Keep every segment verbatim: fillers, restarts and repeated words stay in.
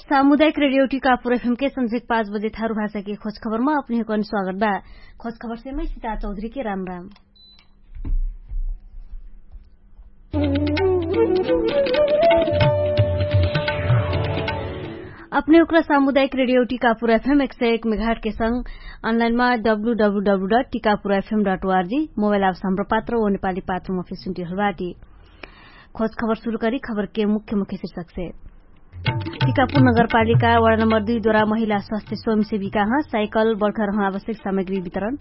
सामुदायिक रेडियो टिकापुर एफएम के संझेक पाँच बजे थारु भाषा के खोज खबरमा अपने हुकन स्वागत बा। खोज खबर से मै सिता चौधरी के राम राम। अपने हुक्रा सामुदायिक रेडियो टिकापुर एफएम एक सय एक मेघाट के संग अनलाइनमा W W W dot Tikapur FM dot ORG mobile apps Hamro पात्र ओ नेपाली पात्र मफे सुन्टी हलबाटी। खोज खबर सुरु करी खबर के मुख्य मुख्य शिर्षक से। टिकापुर नगरपालिका वडा नम्बर दुई द्वारा महिला स्वास्थ्य स्वयंसेविका हँ साइकल बर्खर हँ आवश्यक सामग्री वितरण।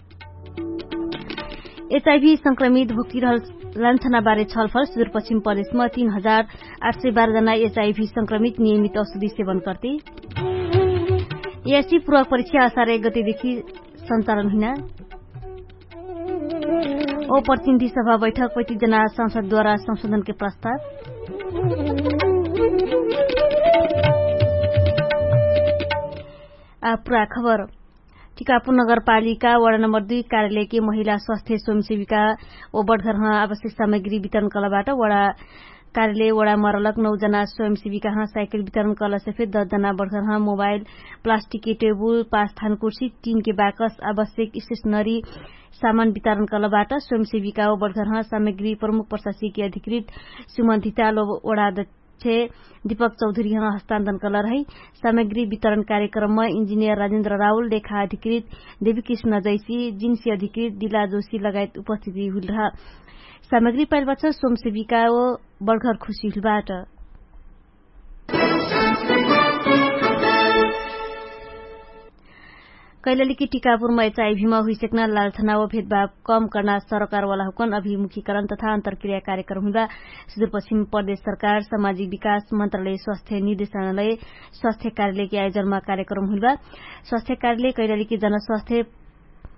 एचआइभी संक्रमित भुक्ति रहल लान्छना बारे छलफल सुदूरपश्चिम प्रदेशमा तीन हजार आठ सय बाह्र जना एचआइभी संक्रमित नियमित औषधि सेवन कर्ती। एसी पूर्वक परीक्षा असार एक गतिदेखि सञ्चालन हुइना। ओ प्रतिनिधि सभा बैठक पैतिस जना संसदद्वारा संशोधनके प्रस्ताव। आ पुरा खबर। टिकापुर नगरपालिका वडा नम्बर दुई कार्यालयके महिला स्वास्थ्य स्वयंसेविका ओ बटघरह आवश्यक सामग्री वितरण कलबाट वडा कार्यालय वडा मरलक नौ जना स्वयंसेविकाह साइकल वितरण कलसे फेर दस जना बटघरह मोबाइल, प्लास्टिकके टेबुल, पाँच थान कुर्सी, टिनके बाकस, आवश्यक स्टेशनरी सामान वितरण कलबाट स्वयंसेविका ओ बटघरह सामग्री प्रमुख प्रशासकीय अधिकृत सुमन धिताल ओ वडा अध्यक्ष दीपक चौधरीह हस्तान्तरण कलरहै। सामग्री वितरण कार्यक्रममा इन्जिनियर राजेन्द्र राहुल, लेखा अधिकृत देवीकृष्ण जैसी, जिन्सी अधिकृत दिला जोशी लगायत उपस्थिति हुइलरह। सामग्री पाइलबाट स्वयंसेविका ओ बटघर खुशी हुइलबाट। कैलालीकी टिकापुरमा एचआइभीमा हुइसक्ना लालछना व भेदभाव कम कर्ना सरकारवाला हुकन अभिमुखीकरण तथा अन्तरक्रिया कार्यक्रम हुइबा सुदूरपश्चिम प्रदेश सरकार सामाजिक विकास मन्त्रालय स्वास्थ्य निर्देशनालय स्वास्थ्य कार्यालयकी आयोजनमा कार्यक्रम हुइबा। स्वास्थ्य कार्यालय कैलालीकी जनस्वास्थ्य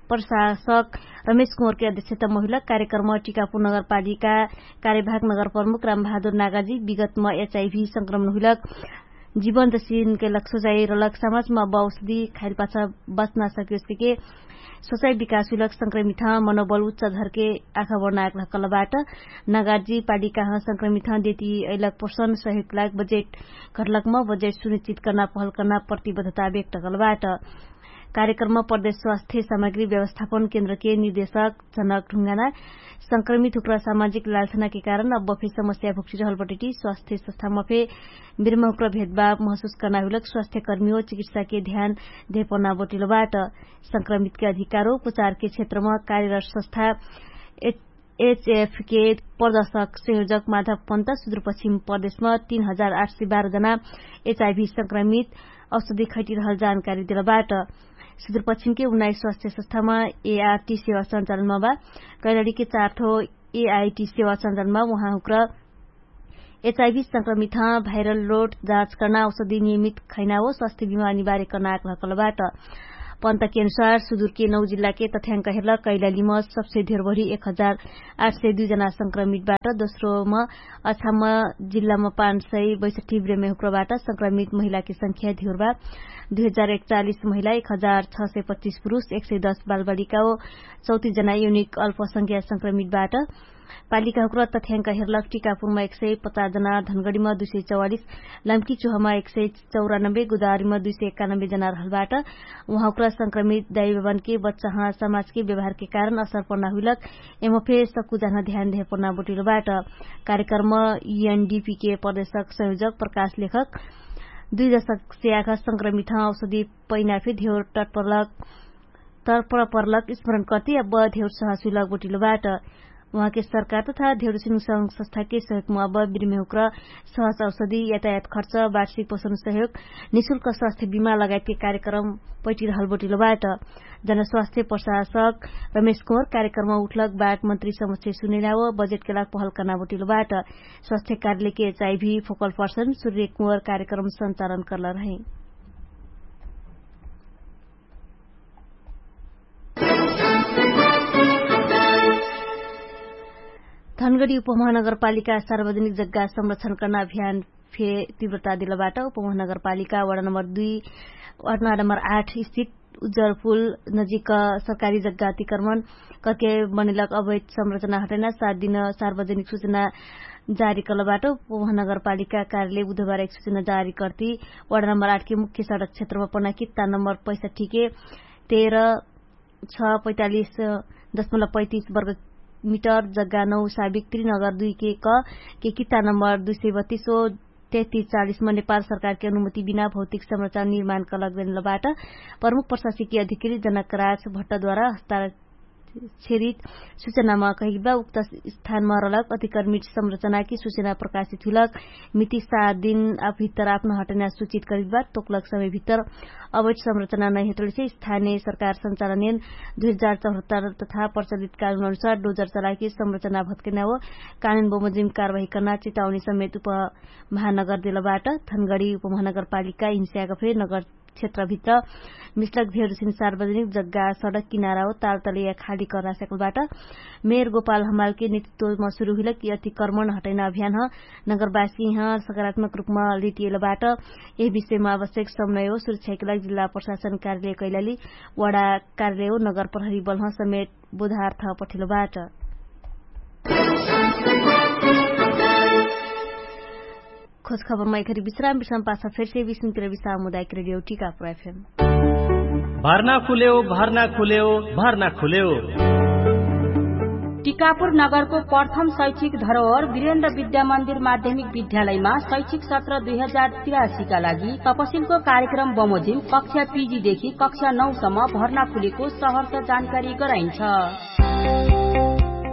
प्रशासक रमेश कुँवरके अध्यक्षता महिला कार्यक्रम टिकापुर नगरपालिका कार्यभाग नगर प्रमुख रामबहादुर नागाजी विगतमा एचआइभी संक्रमण हुइलक जीवन जसिन कैलक सोचाइ रहलक समाजमा अब औषधि खाइल पाछा बच्ना सकियोस के सोचाइ विकास हुइलक संक्रमित ह मनोबल उच्च धरके आखा बढना आग्रह कलबाट। नगाजी पालिकाह संक्रमित ह देती अइलक पोषण सहयोग लाग बजेट घटलकमा बजेट सुनिश्चित कर्ना पहल कर्ना प्रतिबद्धता व्यक्त कलबाट। कार्यक्रममा प्रदेश स्वास्थ्य सामग्री व्यवस्थापन केन्द्रके निर्देशक जनक ढुङ्गाना संक्रमित हुक्रा सामाजिक लालछनाके कारण अब बफे समस्या भुक्टिरहल बटटी स्वास्थ्य संस्थामा फे बिर्महुक्रा भेदभाव महसुस कर्ना हुइलक स्वास्थ्यकर्मी ओ चिकित्साके ध्यान धेपना बटिलो बाट। संक्रमितके अधिकारो उपचारके क्षेत्रमा कार्यरत संस्था एचएफके प्रदर्शक संयोजक माधव पन्त सुदूरपश्चिम प्रदेशमा तीन हजार आठ सय बाह्र जना एचआइभी संक्रमित औषधि खैटिरहल जानकारी देलबाट। सुदूरपश्चिमके उन्नाइस स्वास्थ्य संस्थामा एआरटी सेवा सञ्चालनमा बा। कैलाडीके चारठो एआइटी सेवा सञ्चालनमा उहाँहुक्र एचआइभी संक्रमित ह भाइरल लोड जाँच कर्ना औषधि नियमित खैना हो स्वास्थ्य बिमा अनिवार्य कर्ना आग्रह कलबाट। पन्तके अनुसार सुदूरके नौ जिल्लाके तथ्याङ्क हेर्ल कैलालीमा सबसे धेरभरि एक हजार आठ सय दुई जना संक्रमितबाट दोस्रोमा अछाममा जिल्लामा पाँच सय बैसठी ब्रेमे हुक्रबाट संक्रमित महिलाके संख्या धेरबा दुई हजार एकचालिस महिला एक हजार छ सय पच्चिस पुरुष एक सय दस बालबालिका हो चौतिस जना युनिक अल्पसंख्या संक्रमितबाट। पालिकाहुक्र तथ्याङ्क हेर्लक टिकापुरमा एक सय पचास जना धनगडीमा दुई सय चौवालिस लम्की चुहमा एक सय चौरानब्बे गुदारीमा दुई सय एकानब्बे जना रहलबाट। उहाँहुक्र संक्रमित दाइबेबनके बच्चाह समाजके व्यवहारके कारण असर पर्ना हुइलक एमफे सक्कु जान ध्यान धेपना बोटिलोबाट। कार्यक्रममा युएनडिपीके प्रदेशक संयोजक प्रकाश लेखक दुई दशक से आखा संक्रमित ह औषधि पैनाफे धेउर टटपर्लक तर्पण पर्लक स्मरण कर्ति अब धेउर सहसुइलक बोटिलोबाट। उहाँके सरकार तथा धेउर सिंहसंग संस्थाके सहयोगमा अब बिर्मेहुक्र सहस औषधि यातायात खर्च वार्षिक पोषण सहयोग निशुल्क स्वास्थ्य बिमा लगायतके कार्यक्रम पैटिरहल बोटिलोबाट। जनस्वास्थ्य प्रशासक रमेश कुँवर कार्यक्रममा उठलक बाट मन्त्री समक्ष सुनेना व बजेटके लाग पहल कर्ना बोटिलोबाट। स्वास्थ्य कार्यालयके एचआइभी फोकल पर्सन सूर्य कुँवर कार्यक्रम सञ्चालन कर्ला रहे। धनगडी उपमहानगरपालिका सार्वजनिक जग्गा संरक्षण कर्ना अभियान फे तीव्रता दिलबाट उपमहानगरपालिका वडा नम्बर दुई वडा नम्बर आठ स्थित उज्जरपुल नजिक सरकारी जग्गा अतिक्रमण करके बनेलक अवैध संरचना हटैना सात दिन सार्वजनिक सूचना जारी कलबाट उपमहानगरपालिका कार्यालय बुधबार एक सूचना जारी कर्ती वडा नम्बर आठ के मुख्य सडक क्षेत्रमा पना कित्ता नम्बर पैसा ठिके तेह्र छ पैँतालिस दशमलव पैँतिस वर्ग मिटर जग्गा नौ साबिक त्रिनगर दुई के क के कित्ता नम्बर दुई सय बत्तिस ओ तेत्तिस चालिसमा नेपाल सरकारके अनुमति बिना भौतिक संरचना निर्माणका लगदेनलबाट प्रमुख प्रशासकीय अधिकृत जनकराज भट्टद्वारा हस्ताक्षरित सूचनामा कहिलबा उक्त स्थानमा रलक अतिक्रमित संरचनाकी सूचना प्रकाशित हुइलक मिति सात दिन आभित्तर आपन हटैना सूचित करिलबा तोकलक समयभित्तर अवैध संरचना नैहटलसे स्थानिय सरकार संचालनयन दुई हजार चौहत्तर तथा प्रचलित कानुन अनुसार डोजर चलाकी संरचना भत्कैना हो कानुन बमोजिम कारवाही कर्ना चेताउनी समेत उपमहानगर देलबाट। थनगडी उपमहानगरपालिका हिंस्याका फेरि नगर क्षेत्रभित्र मिस्लक भेरुसिन सार्वजनिक जग्गा सडक किनारा हो तालतले या खाली कर्ना सकलबाट। मेयर गोपाल हमालके नेतृत्वमा सुरु हुइलक यति कर्मण हटैना अभियान ह नगरवासी ह सकारात्मक रूपमा लिटिएलबाट। यही विषयमा आवश्यक समन्वय हो सुरक्षाके लागि जिल्ला प्रशासन कार्यालय कैलाली वडा कार्यालय हो नगर प्रहरी बलह समेत बोधार्थ पठिलबाट। खोजखबरमा एखरी विश्राम विश्राम पाछ फेरसे विश्राम विश्राम मुदायक रेडियो टिकापुर एफएम। भर्ना खुलेउ भर्ना खुलेउ भर्ना खुलेउ। टिकापुर नगरको प्रथम शैक्षिक धरोहर वीरेन्द्र विद्यामन्दिर माध्यमिक विद्यालयमा शैक्षिक सत्र दुई हजार तिरासीका लागि तपसिलको कार्यक्रम बमोजिम कक्षा पिजीदेखि कक्षा नौसम्म भर्ना खुलेको सहरका जानकारी गराइन्छ।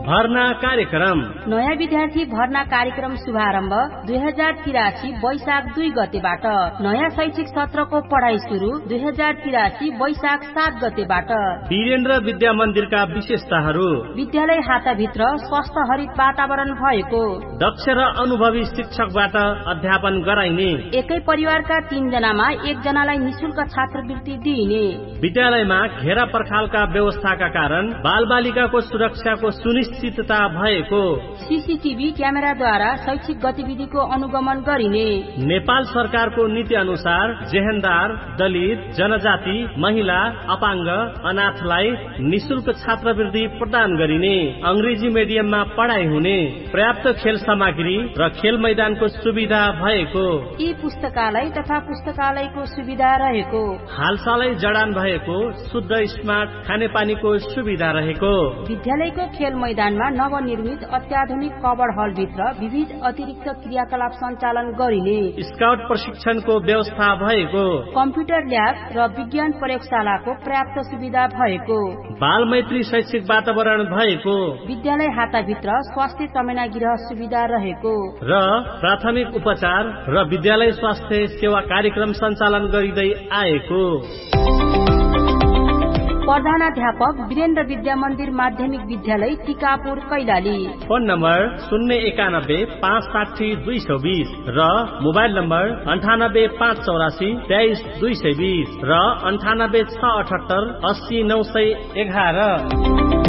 भर्ना कार्यक्रम। नयाँ विद्यार्थी भर्ना कार्यक्रम शुभारम्भ दुई हजार तिरासी वैशाख दुई गतेबाट। नयाँ शैक्षिक सत्रको पढाइ सुरु दुई हजार तिरासी वैशाख सात गतेबाट। वीरेन्द्र विद्यामन्दिरका विशेषताहरू। विद्यालय हाताभित्र स्वस्थ हरित वातावरण भएको। दक्ष र अनुभवी शिक्षकबाट अध्यापन गराइने। एकै परिवारका तीन जनामा एक जनालाई निशुल्क छात्रवृत्ति दिइने। विद्यालयमा घेरा पर्खालका व्यवस्थाका कारण बालबालिकाको सुरक्षाको सुनिश्चितता भएको। सिसिटिभी क्यामेराद्वारा शैक्षिक गतिविधिको अनुगमन गरिने। नेपाल सरकारको नीति अनुसार जेहेन्दार, दलित, जनजाति, महिला, अपाङ्ग, अनाथलाई निशुल्क छात्रवृत्ति प्रदान गरिने। अङ्ग्रेजी मेडियममा पढाइ हुने। पर्याप्त खेल सामग्री र खेल मैदानको सुविधा भएको। यी पुस्तकालय तथा पुस्तकालयको सुविधा रहेको। हालसालै जडान भएको शुद्ध स्मार्ट खानेपानीको सुविधा रहेको। विद्यालयको खेल मैदानमा नवनिर्मित अत्याधुनिक कबड हलभित्र विविध अतिरिक्त क्रियाकलाप सञ्चालन गरिने। स्काउट प्रशिक्षणको व्यवस्था भएको। कम्प्युटर ल्याब र विज्ञान प्रयोगशालाको पर्याप्त सुविधा भएको। बालमैत्री शैक्षिक वातावरण भएको। विद्यालय हाताभित्र स्वास्थ्य चमेना गृह सुविधा रहेको। र प्राथमिक उपचार र विद्यालय स्वास्थ्य सेवा कार्यक्रम सञ्चालन गरिँदै आएको। प्रधानाध्यापक वीरेन्द्र विद्यामन्दिर माध्यमिक विद्यालय टिकापुर कैलाली। फोन नम्बर शून्य एकानब्बे पाँच साठी दुई सौ बीस र मोबाइल नम्बर अन्ठानब्बे पाँच चौरासी तेइस दुई सय बीस र अन्ठानब्बे छ अठहत्तर अस्सी नौ सय एघार।